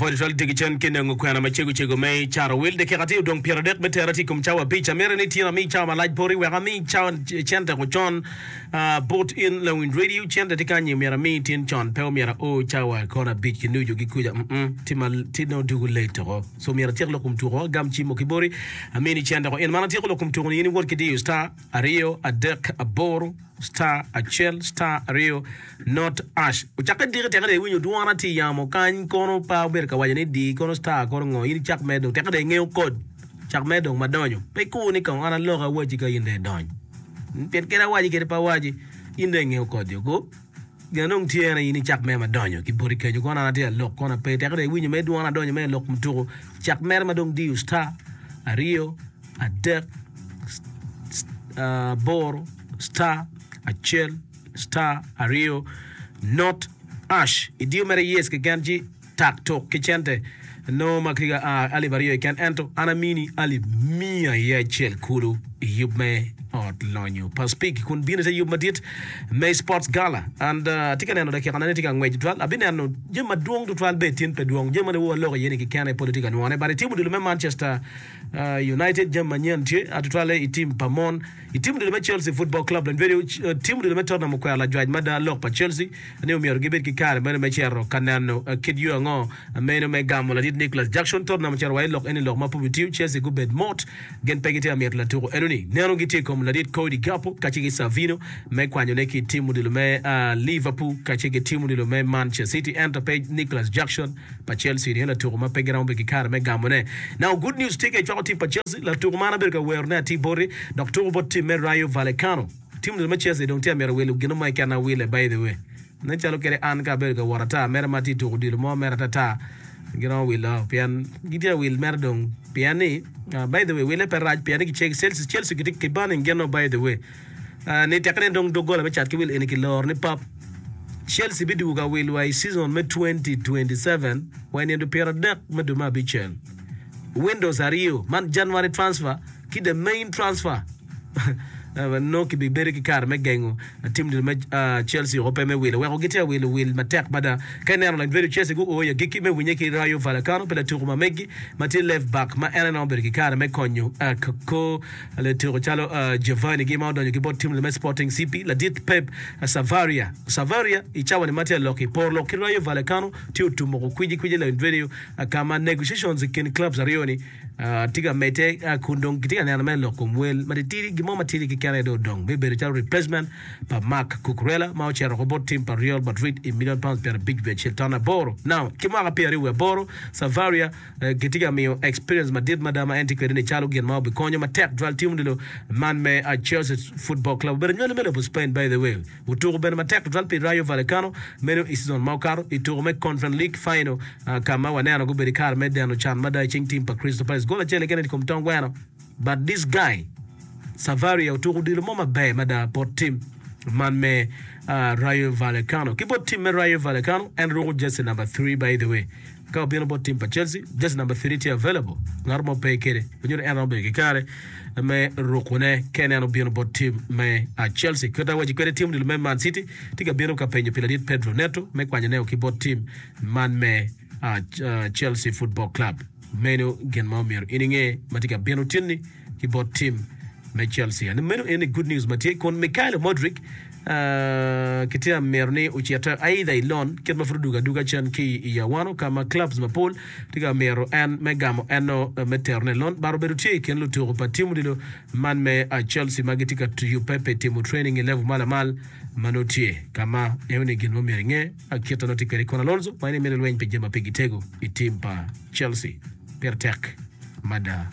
Apwoyo tutwal tye ki cen ki nengo kwena macego cego me caro wil. Dakika tye odong pyeradek me tera tye i kom cawa abic. Amito ni tin ami cawa malac boti wek ami cente ko con bot in lawiny radio. Cente tye kany myero ami tin con pe omyero ao cawa kono abic ki nucu ki kuca mm tye ma tye nongo dugo late oko. So myero atyek lok kom tuko agam cimo ki boti amini cente ko in man atyeko lok kom tuko ni in iwot ki diyo star aryo adek aboro star acel star aryo not ash ocakke diki teke dong iwinyo dwona tye i yamo kany kono pe abedo ka waco ni di kono star kono ngo in icak mere dong teke dong ingeyo kod cak mere dong madonyo pe ikur ni kong an alok awaci ka in dong idony pien kadi awaci kadi pe awaci in dong ingeyo kodi oko gin dong tye en aye in icak mere madonyo ki boti kenyo kono an atye alok kono ape teke dong iwinyo mere dwona adonyo mere lok mutuku cak mere ma dong diyo star aryo adek aboro star acel star aryo not ash idiyo mere yes keken ci tak tuk ki cente nongo ma tye ka a alip aryo keken ento an amini alip miya iye acel kulu i yub me ot lonyo pa Speke kun bino ite yub madit me sports gala and atye ka neno dakika na ni tye ka ngwec tutwal abineno jami madwong tutwal bene tin pe dwong jami ma nongo waloko iye ni kikene pol atye ka nwongone but i tim odilo me Manchester United jami manyen tye tutwalle i tim pa mon I tim odilo me Chelsea Football Club, lanybedo tim odilo me Tottenham okwero lajwac mada lok pa Chelsea ni omyero gibed ki kare meno me cito ka neno kit yo ango meno me gamo ladit Nicolas Jackson. Tottenham ocito wa i lok eni lok ma pud bitiyo, Chelsea gubed mot gin pe gitye ka mito latuko enoni. Neno gitye i kom ladit Cody Gakpo kacel ki Savinho me kwanyone ki i tim odilo me Liverpool kacel ki tim odilo me Manchester City ento pe Nicolas Jackson. pa Chelsea ni en latuko ma pe giromo bedo ki kare me gamone. Now good news tye ka icwako tim pa Chelsea, latuko man abedo ka werone atir boti dok tuko bot tim me Rayo Vallecano. Tim odilo me Chelsea dong tye amito wilo gino mo keken awile by the way. Nen calo kede an ka abedo ka wot ata mere ma atye tuko odilo mo mere atata giromo wilo pien gitye awil mere dong pien ni by the way wile pe rac pien ni Chelsea Chelsea gitye ki banning gino by the way. Ni teke ni dong doggola me cat ki wil eni kiloro ni pap, Chelsea bidwogo ka wil wa i season me 2027 wa i nino 30 me dwe me abicel. Windows aryo man January transfer ki the main transfer nongo kibibedo ki kare me gengo tim dul me Chelsea woko pe me wilo weko gitye ka wilo wil matek mada. Ka ineno lany bedo Chelsea guo i agikki me winye ki Rayo Vallecano pi latuko ma megi ma tye left back ma en aye romo bedo ki kare me konyo kor Lutuku calo Giovanni gi ma odonyo ki bot tim me Sporting CP, ladit Pep Savaria. Savaria i cawa ni ma tye alok i por lok ki Rayo Vallecano tye otumo ko kwiji kwiji lawiny radio ka ma negotiations i kin clubs aryo ni tye ka medde kun dong gitye ka neno mere lok kom wel ma titidi gin mo matidi keken aye dong odong me bedo calo replacement pa Marc Cucurella ma ocito oko bot tim pa Real Madrid i million pounds 51.8 now ki mwaka 28 Savaria Gitye ka miyo experience madit mada ma en tye kwede ni calo gin ma obikonyo matek twal tim odilo man me Chelsea Football Club. Obedo nywali me lobo Spain by the way. Otuko bene matek tutwal pi Rayo Vallecano meno i season ma okato i tuko me Conference League final ka ma waneno gubedo i kare me deno can mada i cing tim pa Crystal Palace. Gol acel keken i kom tong gweno but this guy Savaria otuko odilo mo maber mada bot tim man me Rayo Vallecano. Ki bot tim me Rayo Vallecano en ruko jersey number three by the way. Ka obino bot tim pa Chelsea, jersey number three tye available, ngat mo pe kede, onyuto en romo bedo ki kare me rukone ka en obino bot tim me Chelsea. Kit awaci kwede tim odilo me Man City tye ka bino ka penyo pi ladit Pedro Neto me kwanyoneo ki bot tim man me Chelsea Football Club. Meno gin ma omyero in inge ma tye ka bino tinni ki bot tim me Chelsea. And meno eni good news ma tye kun Mykhailo Mudryk kitye ka mito ni ocit either i loan kit ma pud odugo aduga cen ki i Awano ka ma clubs mapol tye ka mito en me gamo eno me terone i loan but obedo tye i kin lutuku pa tim odilo man me Chelsea ma gitye ka yubbe pi timo training i level ma lamal ma nongo tye ka ma enoni gin ma myero inge kit ma nongo tye kwede kun Alonso ma en aye mito lweny pi jami ma pigi tego i tim pa Chelsea pire tek mada.